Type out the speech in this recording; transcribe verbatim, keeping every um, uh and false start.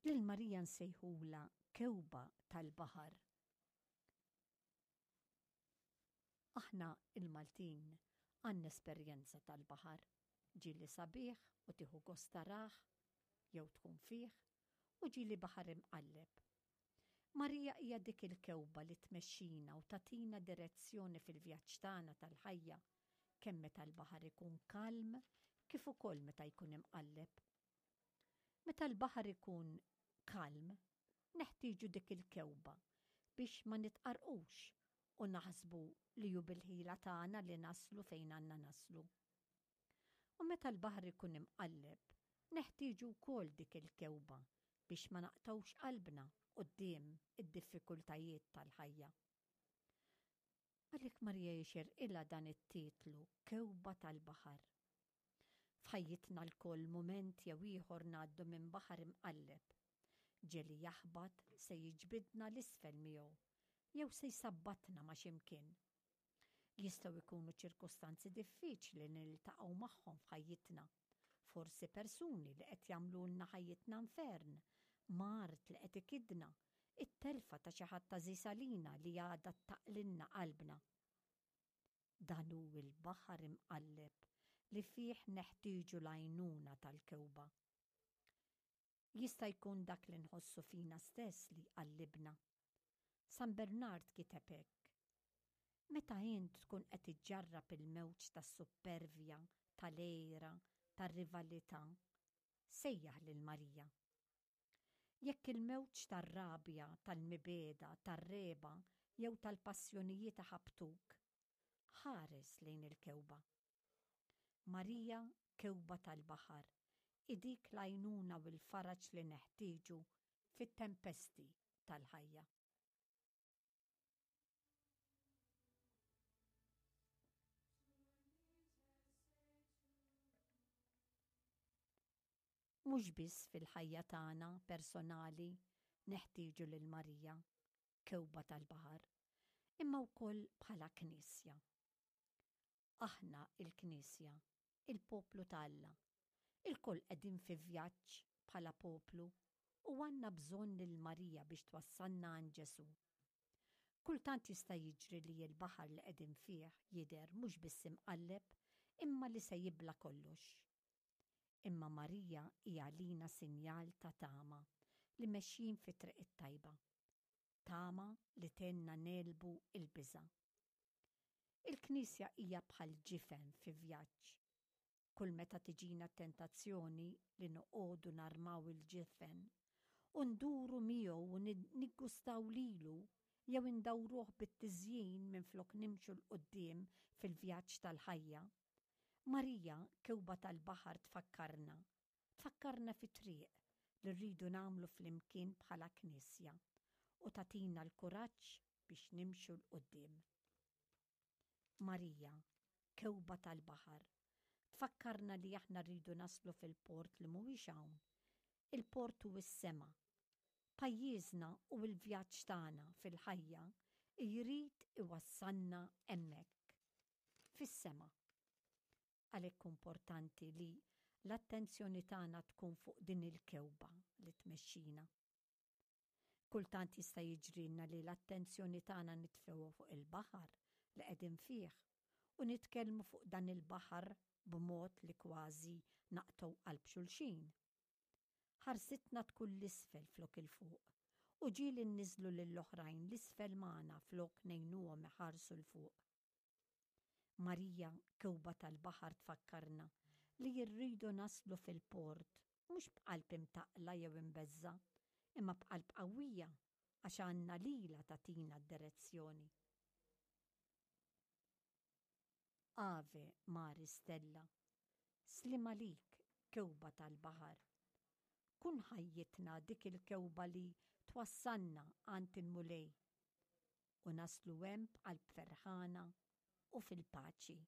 Lil Marija nsejħulha kewba tal-baħar. Aħna il-Maltin għandna esperjenza tal-baħar, ġieli sabiħ u tieħu gost tarah jew tkun fih, u ġieli baħar imqalleb. Marija hija dik il-kewba li tmexxina u tagħtina direzzjoni fil-vjaġġ tagħna tal-ħajja, kemm meta l-baħar ikun kalm kif ukoll meta jkun imqalleb. Meta l-baħar ikun kalm, neħtieġu dik il-kewba biex ma nitqarqux u naħsbu li hu bil-ħila tagħna li naslu fejn għandna naslu. U meta l-baħar ikun imqalleb, neħtieġu wkoll dik il-kewba biex ma naqtgħux qalbna quddiem id-diffikultajiet tal-ħajja. Għalhekk Marija jixirqilha dan it-titlu Kewba tal-Baħar. F'ħajjitna lkoll mument jew ieħor ngħaddu minn baħar imqalleb. Ġieli jaħbat se jiġbidna l-isfel miegħu jew se jsabbatna ma' x'imkien. Jistgħu jkunu ċirkustanzi diffiċli li niltaqgħu magħhom f'ħajjitna. Forsi persuni li qed jagħmlulna ħajjitna infern, mard li qed ikidna, it-telfa ta' xi ħadd għażiż għalina li għadha taqlilna qalbna. Dan hu l-baħar imqalleb li fih neħtieġu l-għajnuna tal-kewba. Jista' jkun dak li nħossu fina stess li jqallibna. San Bernard kiteb hekk: Meta int tkun qed iġġarrab il-mewġ tas-suppervja, tal-għira, tar-rivalità, sejjaħ lil Marija. Jekk il-mewġ tar-rabja, tal-mibegħda, tar-regħba jew tal-passjonijiet iħabbtuk, ħares lejn il-kewba. Marija, kewba tal-baħar, hi dik l-għajnuna u l-faraġ li neħtieġu fit-tempesti tal-ħajja. Mhux biss fil-ħajja tagħna personali neħtieġu lil Marija, kewba tal-baħar, imma wkoll bħala Knisja. Aħna il-Knisja, il-poplu ta' Alla, ilkoll qegħdin fi vjaġġ bħala poplu u għandna bżonn lil Marija biex twassalna għand Ġesù. Kultant jista' jiġri li l-baħar li qegħdin fih jidher mhux biss imqalleb imma li se jibla' kollox. Imma Marija hi għalina sinjal ta' tama li mexjin fi triq it-tajba. Tama li tgħinna negħlbu l-biża'. Il-Knisja hija bħal ġifen fi vjaġġ. Kull meta tiġina t-tentazzjoni li noqogħdu narmaw il-ġifen u nduru miegħu u niggustaw lilu jew indawruh bit-tiżjin minflok nimxu 'l quddiem fil-vjaġġ tal-ħajja, Marija, kewba tal-baħar tfakkarna, tfakkarna fit-triq li rridu nagħmlu flimkien bħala Knisja u tagħtina l-kuraġġ biex nimxu 'l quddiem. Marija, kewba tal-baħar, tfakkarna li aħna rridu naslu fil-port li mhuwiex hawn. Il-port hu s-sema. Pajjiżna u l-vjaġġ tagħna fil-ħajja jrid iwassalna hemmhekk, fis-sema. Għalhekk importanti li l-attenzjoni tagħna tkun fuq din il-kewba li tmexxina. Kultant jista' jiġrilna li l-attenzjoni tagħna nitfgħuha fuq il-baħar li qegħdin fih u nitkellmu fuq dan il-baħar b'mod li kważi naqtgħu qalb xulxin. Ħarsitna tkun l-isfel flok il-fuq u ġieli nniżżlu lill-oħrajn l-isfel magħna flok ngħinuhom iħarsu 'l fuq. Marija, kewba tal-baħar tfakkarna li rridu naslu fil-port mhux b'qalb imtaqqla jew imbeżża', imma b'qalb qawwija għax għandna lilha tagħtina d-direzzjoni. Ave Maris Stella, sliem għalik, kewba tal-baħar. Kun ħajjitna dik il-kewba li twassalna għand il-Mulej u naslu hemm b'qalb ferħana u fil-paċi.